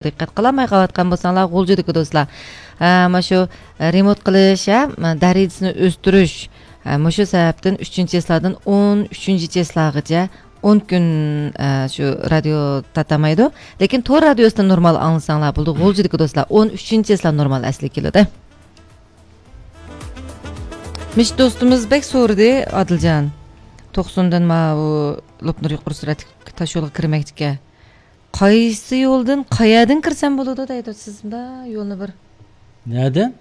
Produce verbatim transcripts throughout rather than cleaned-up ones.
دىققەت قىلالماي قېلىۋاتقان بولساڭلار، غۇلجىدىكى دوستلار، ھە، مانا شۇ، ھە، رېمونت قىلىش، ھە، دەرىجىسىنى ئۆستۈرۈش، ھە، مۇشۇ سەۋەبتىن ئۈچىنچى چىسلادىن ئون ئۈچىنچى چىسلاغىچە ئون كۈن، ھە، شۇ رادىيو تارتالمايدۇ. لېكىن تور رادىيوسىدا نورمال ئاڭلىساڭلار بولىدۇ. غۇلجىدىكى دوستلار، ئون ئۈچىنچى چىسلا نورمال ئەسلىگە كېلىدۇ. مىش دوستىمىز بەك سورىدى، ئادىلجان. توقسۇندىن ماۋۇ لوپنۇر يۇقىرى سۈرئەتلىك تاش يولغا كىرمەكچىكەن. قايسى يولدىن، قەيەردىن كىرسەم بولىدۇ دەيدۇ، سىز مۇنداق يولنى بىر. نەدىن؟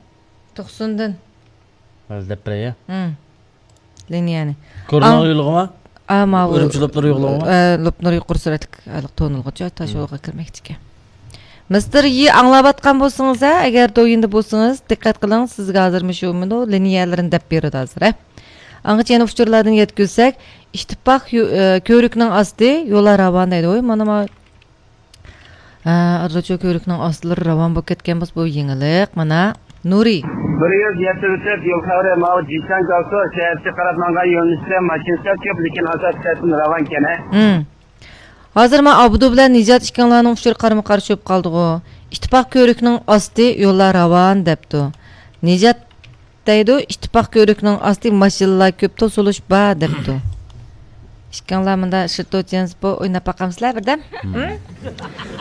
توقسۇندىن. ھازىر دەپ بېرەي. ھىم. لىنىيەنى. كورلىنىڭ يولىغىمۇ؟ ئا، ماۋۇ، ئۈرۈمچى لوپنۇر يولىغىمۇ؟ ئە، لوپنۇر يۇقىرى سۈرئەتلىك ھېلىقى تونۇلغۇچە تاش يولغا كىرمەكچىكەن. مىستېر يى ئاڭلاۋاتقان بولسىڭىز، ھە، ئەگەر دويىندا بولسىڭىز، دىققەت قىلىڭ، سىزگە ھازىرمۇ شۇ مۇنۇ لىنىيەلىرىنى دەپ بېرىدۇ ھازىر، ھە. ئاڭغىچە يەنە ئۇچۇرلاردىن يەتكۈزسەك، ئىتتىپاق يو-، ئە، كۆۋرۈكنىڭ ئاستى، يوللار راۋان دەيدۇ. ۋوي، مانا ما-، ھە، ئادىلجان، كۆۋرۈكنىڭ ئاستىلىرى راۋان بولۇپ كەتكەن بولسا، بۇ يېڭىلىق. مانا، نۇرى. بىر يۈز يەتتە ئۆتۈپ، يول خەۋىرى ماۋۇ جىشەن گاۋسۇ شەھەرچە قاراپ ماڭغان يۆنىلىشتە ماشىنا سەل كۆپ، لېكىن ئاساسىي تەرەپتىن راۋانكەن، ھە؟ ھىم. ھازىر مانا ئابدۇ بىلەن نىجات ئىككىڭلارنىڭ ئۇچۇرى قارىمۇ قارشى بولۇپ قالدىغۇ. ئىتتىپاق كۆۋرۈكنىڭ ئاستى، يوللار راۋان دەپتۇ. نىجات دەيدۇ، ئىتتىپاق كۆۋرۈكنىڭ ئاستى ماشىنىلار كۆپ، توسۇلۇش بار دەپتۇ. ئىككىڭلار مۇندا شىرتوچيەنسپو ئويناپ باقامسىلەر بىردەم؟ ھىم؟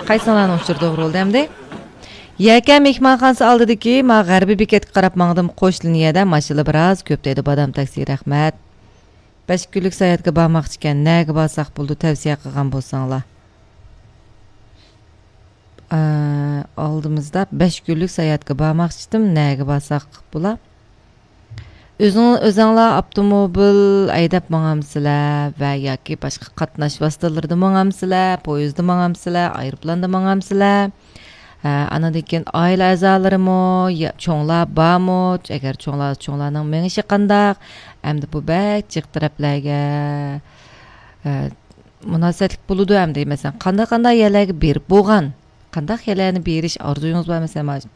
قايسىڭلارنىڭ ئۇچۇرى توغرا بولدى ئەمدى؟ يەكەن مېھمانخانىسى ئالدىدىكى ما غەربىي بېكەتكە قاراپ ماڭدىم، قوش لىنىيەدە ماشىنىلار بىراز كۆپ دەيدۇ، بادام تاكسى، رەھمەت. بەش كۈنلۈك ساياھەتكە بارماقچىكەن، نەگە بارساق بولىدۇ، تەۋسىيە قىلغان بولساڭلار. ئە، ئالدىمىزدا بەش كۈنلۈك ساياھەتكە بارماقچىدىم، نەگە بارساق بولا؟ ئۆزۈڭ-، ئۆزۈڭلار ئاپتوموبىل ھەيدەپ ماڭامسىلەر ۋە ياكى باشقا قاتناش ۋاسىتىلىرىدا ماڭامسىلەر، پويىزدا ماڭامسىلەر، ئايروپىلاندا ماڭامسىلەر؟ ھە، ئانىڭدىن كېيىن ئائىلە ئەزالىرىمۇ، يا، چوڭلار بارمۇ؟ ئەگەر چوڭلار، چوڭلارنىڭ مېڭىشى قانداق؟ ئەمدى بۇ بەك جىق تەرەپلەرگە، ھە، مۇناسىۋەتلىك بولىدۇ ئەمدى. مەسىلەن، قانداق، قانداق يەرلەرگە بېرىپ بولغان؟ قانداق يەرلەرنى بېرىش ئارزۇيىڭىز بار؟ مەسىلەن،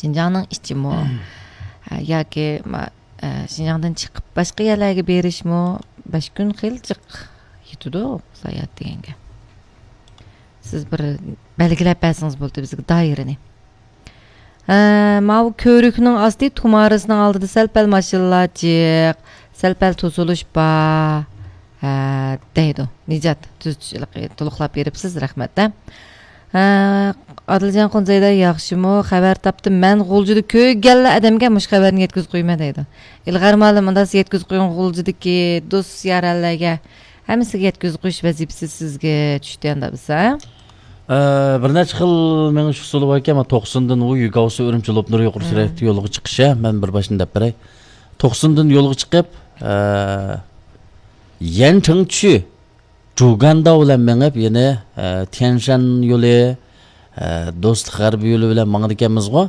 شىنجاڭنىڭ ئىچىمۇ؟ ھە، ياكى ما-، ئە، شىنجاڭدىن چىقىپ باشقا يەرلەرگە بېرىشمۇ؟ بەش كۈن خېلى جىق يېتىدۇ ساياھەت دېگەنگە. سىز بىر بەلگىلەپ بەرسىڭىز بولدى بىزگە دائىرىنى. ھە، ماۋۇ كۆۋرۈكنىڭ ئاستى تۇمارىسىنىڭ ئالدىدا سەل-پەل ماشىنىلار جىق، سەل-پەل توسۇلۇش بار. ھە، دەيدۇ. نىجات، تۈزىتىش، تولۇقلاپ بېرىپسىز، رەھمەت، ھە. ھە، ئادىلجان قۇنزەيدە ياخشىمۇ؟ خەۋەر تاپتىم. مەن غۇلجىدا كۆرگەنلا ئادەمگە مۇشۇ خەۋەرنى يەتكۈزۈپ قويىمەن دەيدۇ. ئىلغار مۇئەللىم، ئۇنداق يەتكۈزۈپ قويۇڭ غۇلجىدىكى دوست يارەنلەرگە. ھەممىسىگە يەتكۈزۈپ قويۇش ۋەزىپىسى سىزگە چۈشتى ئەمدى بولسا. ئە، بىر نەچچە خىل مېڭىش ئۇسۇلى باركەن، مانا توقسۇندىن ۋۇيۈگاۋسۇ ئۈرۈمچى لوپنۇر يۇقىرى سۈرئەتلىك يولغا چىقىش، ھە، مەن بىر باشتىن دەپ بېرەي. توقسۇندىن يولغا چىقىپ، ئە، يەنچىڭچۈ، جۇگانداۋ بىلەن مېڭىپ، يەنە، ئە، تيەنشەن يولى، ئە، دوستلۇق غەربىي يولى بىلەن ماڭىدىكەنمىزغۇ.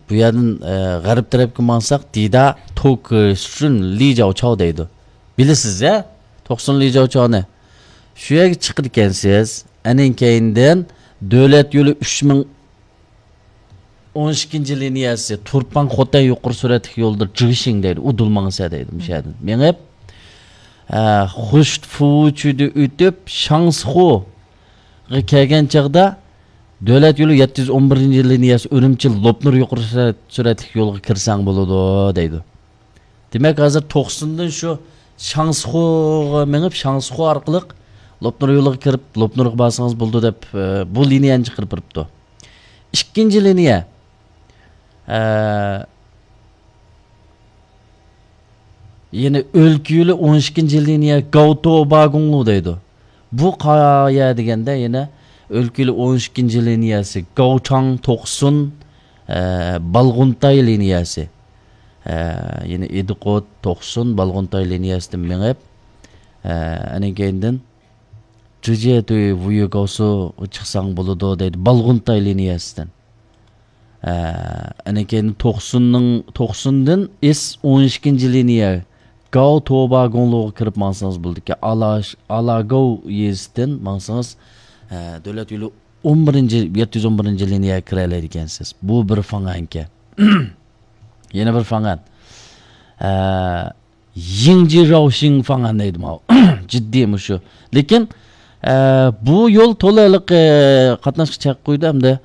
بۇ يەردىن، ئە، غەرب تەرەپكە ماڭساق، دىدا توكشۇن لىجاۋچاۋ دەيدۇ. بىلىسىز يا، توقسۇن لىجاۋچاۋنى. شۇ يەرگە چىقىدىكەنسىز. ئەنىڭ كەينىدىن دۆلەت يولى ئۈچ مىڭ ئون ئىككىنچى لىنىيەسى، تۇرپان خوتەن يۇقىرى سۈرئەتلىك يولىدا جىشىڭ دەيدۇ، ئۇدۇل ماڭسا دەيدۇ، مۇشۇ يەردىن مېڭىپ، ئە، خۇشفۇچۈدە ئۆتۈپ، شاڭسىخۇغا كەلگەن چاغدا، دۆلەت يولى يەتتە يۈز ئون بىرىنچى لىنىيەسى ئۈرۈمچى لوپنۇر يۇقىرى سۈرئەت-، سۈرئەتلىك يولغا كىرسەڭ بولىدۇ دەيدۇ. دېمەك، ھازىر توقسۇندىن شۇ شاڭسىخۇغا مېڭىپ، شاڭسىخۇ ئارقىلىق لوپنۇر يولىغا كىرىپ، لوپنۇرغا بارسىڭىز بولىدۇ دەپ، ئە، بۇ لىنىيەنى چىقىرىپ بېرىپتۇ. ئىككىنچى لىنىيە، ئە، يەنى ئۆلكە يولى ئون ئىككىنچى لىنىيە گاۋتو باگۇڭلۇ دەيدۇ. بۇ قايا دېگەندە يەنە ئۆلكە يولى ئون ئىككىنچى لىنىيەسى، گاۋچاڭ توقسۇن، ئە، بالغۇنتاي لىنىيەسى. ئە، يەنە ئىدىقوت، توقسۇن، بالغۇنتاي لىنىيەسىدىن مېڭىپ، ئە، ئەنە كەينىدىن جىجيەتۈي ۋۇيۈگاۋسۇغا چىقساڭ بولىدۇ دەيدۇ، بالغۇنتاي لىنىيەسىدىن. ئە، ئەنە كەينىدىن توقسۇننىڭ، توقسۇندىن ئېس ئون ئىككىنچى لىنىيە گاۋ توبا گۇڭلۇغا كىرىپ ماڭسىڭىز بولىدىكەن. ئالا-، ئالاگاۋ يېزىسىدىن ماڭسىڭىز، ئە، دۆلەت يولى ئون بىرىنچى، يەتتە يۈز ئون بىرىنچى لىنىيەگە كىرەلەيدىكەنسىز. بۇ بىر فاڭەنكەن. يەنە بىر فاڭەن. ئە، يىڭجى راۋشىڭ فاڭەن دەيدۇ ماۋۇ. جىددىي مۇشۇ. لېكىن، ئە، بۇ يول تولا ھېلىقى قاتناشقا چەك قويدى ھەمدە